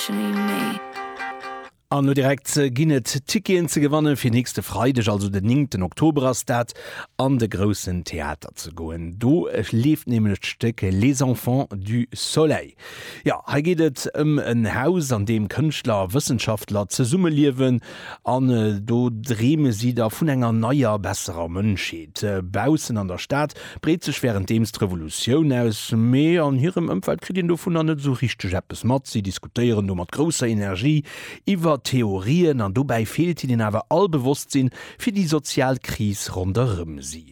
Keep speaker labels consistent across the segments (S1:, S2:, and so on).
S1: actually me.
S2: An elo direkt ginn et Ticketen ze gewanne fir nächste Freideg, also den 9 Oktober ass dat, an de Groussen Theater ze goen. Do leeft nämlech d'Stéck Les Enfants du Soleil. Jo, hei geet et ëm en Haus, an deem Kënschtler a Wëssenschaftler zesummeliewen an do dreeme si da vun enger neier, besserer Mënschheet. Baussen an der Stad breet sech wärenddeems d'Revolutioun aus, mee an hirem Ëmfeld kritt een dovunner net esou richteg eppes mat. Si diskutéieren do mat grousser Energie iwwer Theorien an dobäi feelt hinnen awer all Bewosstsinn fir déi sozial Kris ronderëm si.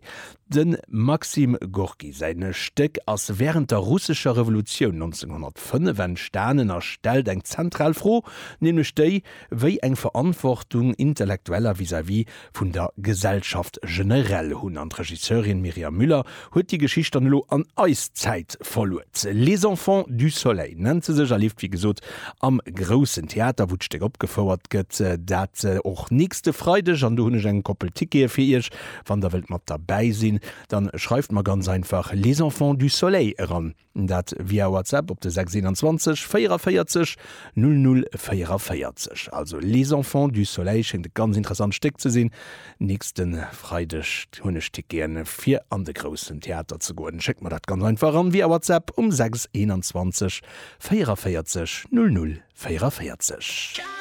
S2: Dem Maxim Gorki säin Stéck ass wärend der russescher Revolutioun 1905 entstanen a stellt eng zentral Fro, nämlech déi, wéi eng Verantwortung Intellektueller vis-à-vis vun der Gesellschaft generell hunn. An d'Regisseurin Myriam Müller huet déi Geschicht dann elo an eis Zäit verluet. Les Enfants du Soleil nennt se sech a leeft wéi gesot am Groussen Theater, wou d'Stéck opgefouert gëtt. Dat och nächste Freideg. An do hunn ech eng Koppel Tickete fir iech. Wann der wëllt mat derbäi sinn, dann schreift mer ganz einfach Les Enfants du Soleil eran. Dat via WhatsApp op de 6 21 44 00 44. Also Les Enfants du Soleil schéngt e ganz interessant Stéck ze sinn. Nächste Freideg hunn ech Ticketen fir an de Groussen Theater ze goen. Schéckt mer dat ganz einfach eran via WhatsApp um 6 21 44 00 44.